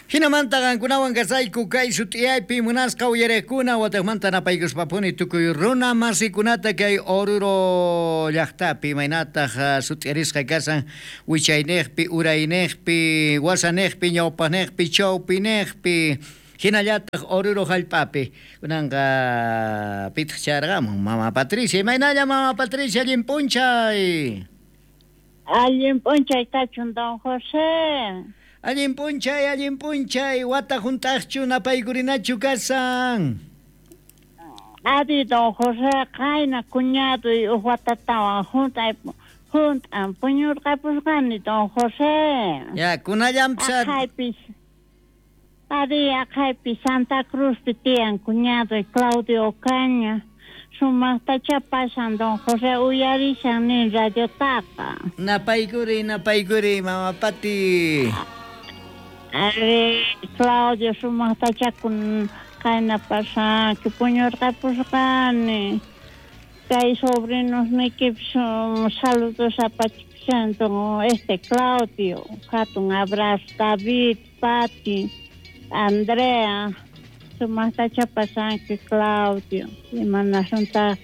Jinamanta qankunawan kasayku kay sut'iyaypi munasqa uyariqkuna, wataqmanta napaykuspapuni tukuy runa masikunata kay Oruro llaqtapi, imaynataq sut'iyarisqa kasan wichayniqpi, urayniqpi, wasaniqpi, ñawpaqniqpi, chawpiniqpi, hinallataq Oruro hallp'api. Kunanqa pitaq chayarqamun? Mama Patricia, imaynalla Mama Patricia, allin p'unchay. Allin p'unchay kachun, don José. Allin p'unchay, allin p'unchay, wata hunt'aqchu napaykurinachu kasan? Ari, don José, qayna cuñadoy uj watatawan hunt'ay hunt'an puñurqapusqani, don José. Ya, kunallanpis. Aqhaypis. Ari, aqhaypi Santa Cruzpi tiyan cuñadoy Claudio Ocaña. Sumaqtachá pasan, don José, uyarishan nin radiotaqa. Napaykuri, napaykuri, Mama Pati. Ari, Claudio, sumaqtachá kun qayna pasanki, puñurqapusqani. Kay sobrinosniykipis saludos apachikushan, don Claudio. Hatun abrazo, David, Pati, Andrea. Sumaqtachá pasanki, Claudio. Imanasuntaq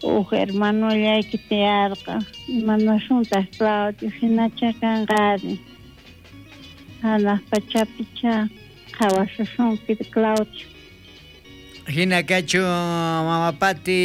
uj hermanollayki tiyarqa. Imanasuntaq, Claudio, hinacha kanqari. Hanaq pachapicha qhawasusunki, Claudio. Hina kachun, Mama Pati.